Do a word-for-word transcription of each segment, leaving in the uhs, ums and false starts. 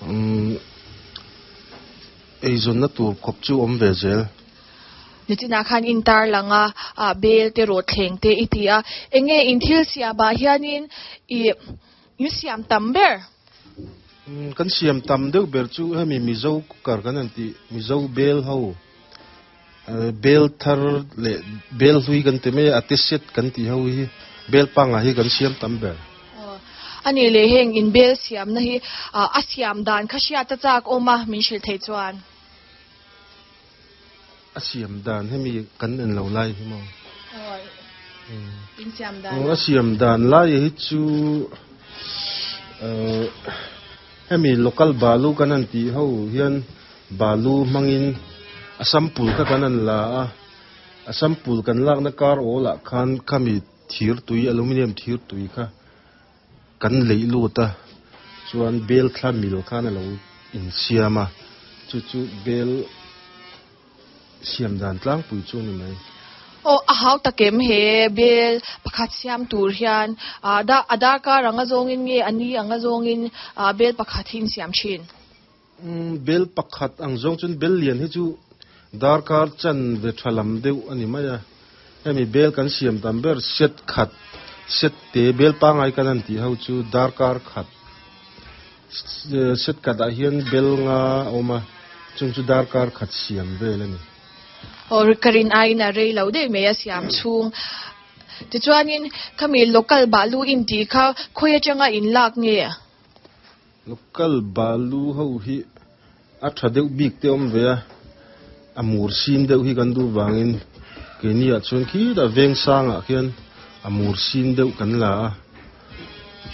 Um eizawnna tur khawp chu awm ve zel. Nichinah khan in tarlang a, ah bel te rawh thleng te i ti a, enge in thil siamah hianin ih in siam tam ber? Um kan siam tam deuh ber chu hemi Mizo cooker kan han tih Mizo bel ho bel thar leh bel hlui kan ti mai a, a te set kan tih ho hi bel pangngai hi kan siam tam ber. A nih leh heng in bel siamna hi a siam dan kha hriat a chak awm a min hrilh theih chuan. A siam dan hemi kan en lo lai hi maw? In siam dan. A siam dan lai hi chu hemi local balu kan han tih ho hian balu hmangin a sample kha kan han la a, a sample kan lakna kar awlah khan khami thir tui aluminium thir tui kha kan leih lut a, chuan bel thla mil khan a lo insiam a, chu chu bel siam dan tlangpui chu a ni mai. Aw a hau takem he bel pakhat siam tur hian ah da a darkar anga zawngin nge a ni anga zawngin ah bel pakhat hi insiam thin. Um bel pakhat ang zawng chuan bel lian hi chu darkar chan ve tha lam deuh a ni mai a, hemi bel kan siam tam ber set khat set te bel pangngai kan han tih ho chu darkar khat set khatah hian bel nga a awm a, chung chu darkar khat siam vel a ni. Aw ka rin aiin a rei lo deuh mai a siam chhung. Tichuanin khami local balu in tih kha khawi atanga in lak nge? Local balu ho hi a tha deuh bik te awm ve a, a mur sin deuh hi kan duh vangin keini ah chuan khitah veng sangah khian a mur sin deuh kan la a,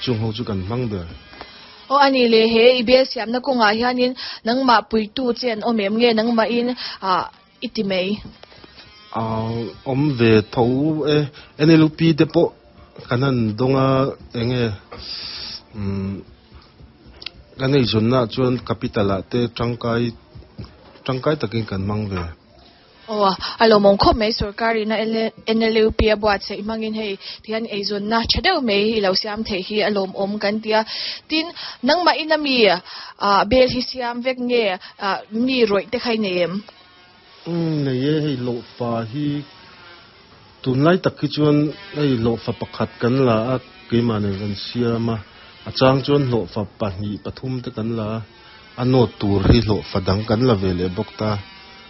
chung ho chu kan hmang ber. Aw a nih leh he i bel siamna kawngah hianin nangmah puitu che an awm em nge nangmahin ah i ti mai? Ah awm ve tho e, N L P te pawh kan han dawng a enge umm kan eizawnna ah chuan capital ah te tangkai tangkai takin kan hmang ve. Aw a lawmawm khawp mai sorkarin a N L U P a buatsaih hmangin hei tihian eizawnna tha deuh mai i lo siam theih hi a lawmawm kan ti a. Tin nangmahin a mi ah bel hi siam vek nge ah mi rawih te kha i nei em? Um nei e hei lohfa hi tunlai tak hi chuan hei lohfa pakhat kan la a keimah nen kan siam a, a chang chuan hlawhfa pahnih pathum te kan la a, a nawt tur hi hlawhfa dang kan la ve leh bawk ta,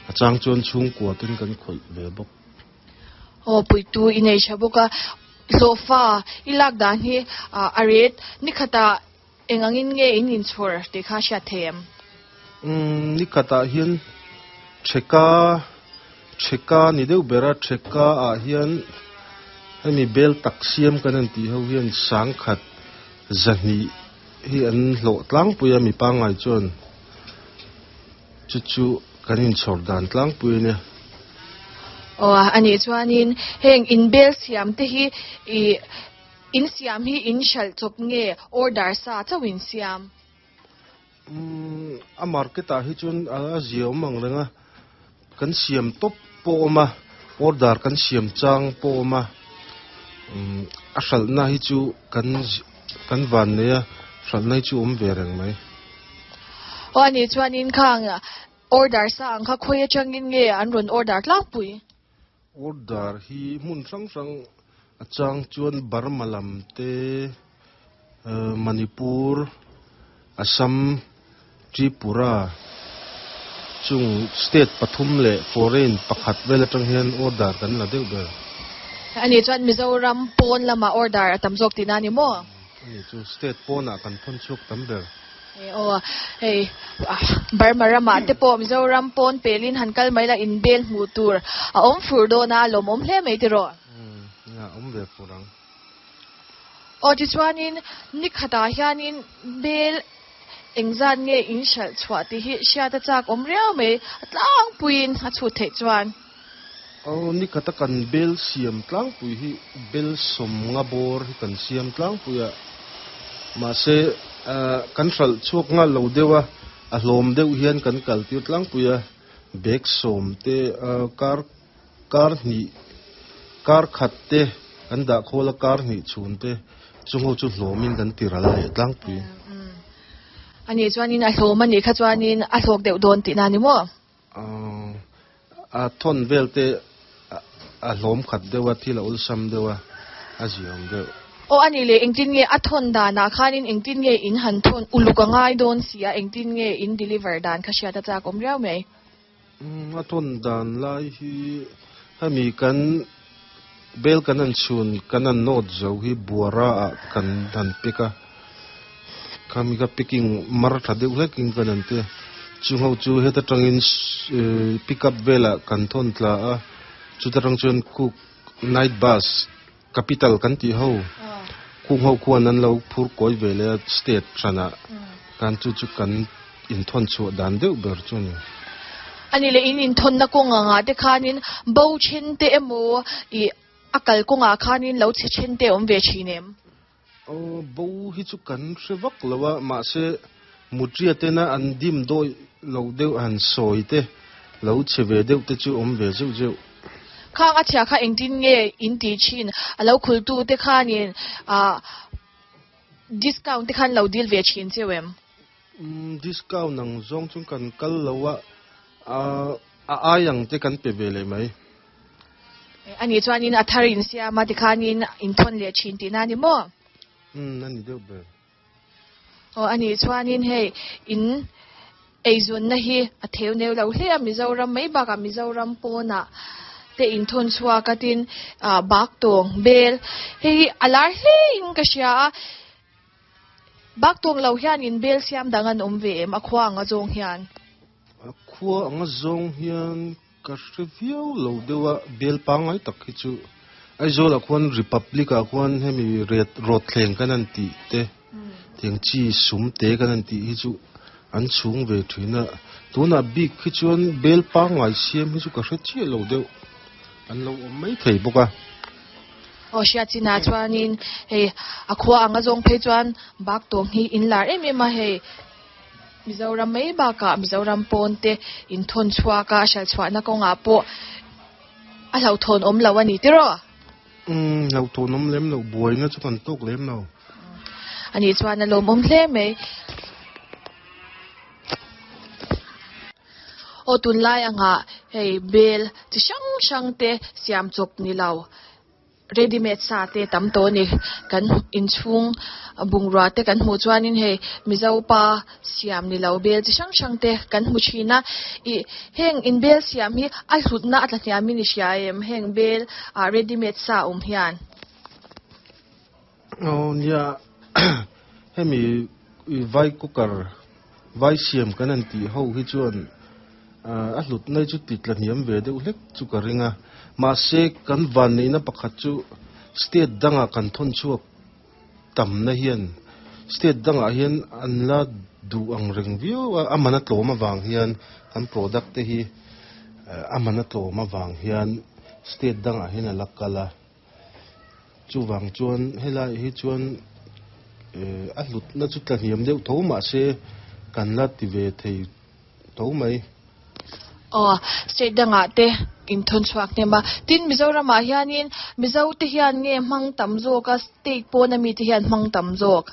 a chang chuan chhungkua ten kan khawih ve bawk. Aw puitu i nei tha bawk a, hlawhfa i lak dan hi a ret nikhatah eng angin nge in inchhawr tih kha hriat thei em? Um nikhatah hian theka theka ni deuh ber a, theka ah hian hemi bel tak siam kan han tih ho hian sangkhat zahnih hi an hlawh tlangpui a mi pangngai chuan chu chu kan inchhawr dan tlangpui a nia. Aw a nih chuanin heng in bel siam te hi ih in siam hi in hralh chawp nge order sa chauh in siam? Um a market ah hi chuan a zia awm ang reng a, kan siam tawp pawh awm a, order kan siam chang pawh awm a, um a hralhna hi chu kan kan van nei a, hralhna hi chu awm ve reng mai. Aw a nih chuanin khang order sa ang kha khawi atangin nge an rawn order tlangpui? Order hi hmun hrang hrang a chang chuan Burma lam te, Manipur, Assam, Tripura chung state pathum leh foreign pakhat vel atang hian order kan la deuh ber. A nih chuan Mizoram pawn lamah order a tam zawk tihna a ni maw? A nih chu state pawnah kan thawn chhuak tam ber. Aw hei Burma ramah te pawh Mizoram pawn pelin han kal mai la in bel hmuh tur a awm fur dawn a, a lawmawm hle mai tiraw? Um a awm ve fur ang. Aw tichuanin nikhatah hianin bel engzat nge in hralh chhuah tih hi hriat a chak awm riau mai, a tlangpuiin a chhut theih chuan. Aw nikhata kan bel siam tlangpui hi bel sawm nga bawr hi kan siam tlangpui a, mahse kan hralh chhuak nghal lo deuh a, a hlawm deuh hian kan kal tir tlangpui a, bag sawm te kar kar hnih kar khat te kan dah khawl a kar hnih chhun te chung ho chu hlawmin kan ti ral leh tlangpui. Ani chuanin a hlawm a nih kha chuanin a hlawk deuh dawn tihna ni maw? A thawn vel te a hlawm khat deuh a, thil a awlsam deuh a, a ziawm deuh. Aw a nih leh engtin nge a thawn danah khanin engtin nge in han thawn uluk a ngai dawn si a, engtin nge in deliver dan kha hriat a chak awm riau mai. A thawn dan lai hi hemi kan bel kan han chhun kan han nawt zo hi buara ah kan han pick a, khami kha picking mar tha deuh hlekin kan han ti a, chung ho chu heta tangin pick up velah kan thawn tla a, chuta tang chuan cook night bus capital kan tih ho kung ho khuan an lo phur kawi ve leh a state hranah kan chu chu kan inthawn chhuah dan deuh ber chu a ni. Ani leh in inthawnna kawng anga te khanin bo then te emaw ih a kal kawngah khanin lo chhe then te awm ve thin em? Aw bo hi chu kan hre vak lo a, mahse mutria tena an dim dawi lo deuh han sawi te lo chhe ve deuh te chu awm ve zeuh zeuh. Khang a chhia kha engtin nge in tih thin a lo khultu te khanin ah discount te khan lo deal ve thin cheu em? Umm discount ang zawng chu kan kal lo a, a ai ang te kan pe ve leh mai. Ani chuanin a thar in siam a tikhanin in thawn leh thin tihna a ni maw? Umm a ni deuh ber. Aw ani chuanin hei in eizawnna hi a theu neu lo hle a Mizoram mai bakah Mizoram pawnah te in thawn chhuak a tin ah bak tawng bel hei hi a lar hle in ka hria a bak tawng lo hian in bel siam dang an awm ve em a khua anga zawng hian. A khua anga zawng hian ka hre viau lo deuh a bel pangngai tak hi chu Aizawl ah khuan Republic ah khuan hemi ret rawt thleng kan han tih te tiang chi sum te kan han tih hi chu an chhung ve thin a, tunah bik hi chuan bel pangngai siam hi chu ka hre chiah lo deuh an lo awm mai thei bawk a. Aw hriat chinah chuanin hei a khua anga zawng phei chuan bak tawng hi in lar em em a hei Mizoram mai bakah Mizoram pawn te inthawn chhuak a hral chhuahna kawngah pawh a hlauhthawn awm lo a ni tiraw? Umm hlauhthawn awm lem lo buaina chu kan tawk lem lo. Ani chuan a lawmawm hle mai. Aw tunlai angah hei bel chi hrang hrang te siam chawp ni lo ready made sa te tam tawh a ni. Kan inchhung bungrua te kan hmuh chuanin hei Mizo pa siam ni lo bel chi hrang hrang te kan hmu thin a. Ih heng in bel siam hi a hlutna a tla hniamin i hria em heng bel ah ready made sa awm hian. Aw nia hemi vai cooker vai siam kan han tih ho hi chuan a hlutna hi chu ti tla hniam ve deuh hlek chu ka ring a, mahse kan van neihna pakhat chu state dangah kan thawn chhuak tamna hian state dangah hian an la duh ang reng viau a, a man a tlawm avang hian kan product te hi a man a tlawm avang hian state dangah hian a la kal a, chuvang chuan helai hi chuan a hlutna chu tla hniam deuh tho mahse kan la ti ve thei tho mai. Aw, state dangah te inthawn chhuak hnem a. Tin, Mizoramah hianin Mizo te hian nge hmang tam zawk a, state pawna mite hian hmang tam zawk?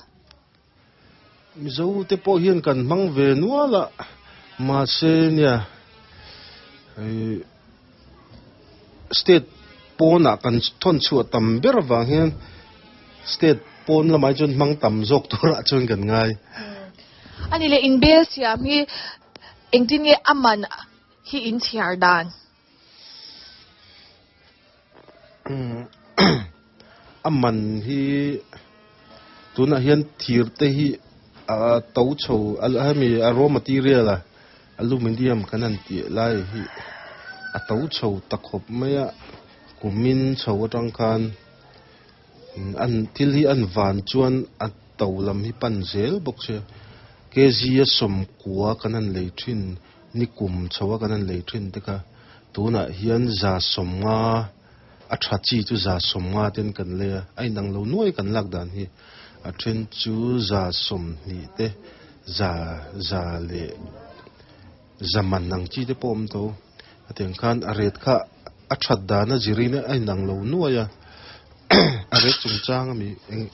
Mizo te pawh hian kan hmang ve nual a, mahse nia state pawnah kan thawn chhuah tam ber avang hian state pawn lamah hi chuan hmang tam zawk turah chuan kan ngai. Ani leh inbel siam hi engtin nge a man hi in chhiar dan? A man hi tunah hian thir te hi a to chho hemi a raw material a aluminium kan han tih lai hi a to chho ta khawp mai a kumin chho atang khan an thil hi an van chuan a to lam hi pan zel bawk sia kg a sawmkua kan han lei thin ni kum chho a kan han lei thin te kha tunah hian za sawmnga a tha chi chu za sawmnga ten kan lei a a inang lo nuai kan lak dan hi a then chu za sawmhnih te za za leh za man ang chi te pawh a awm tho a tiang khan a ret kha a that dan a zirin a inang lo nuai a a ret chungchang a mi eng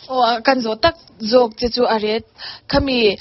Aw kan zawh tak zawk che chu a ret khami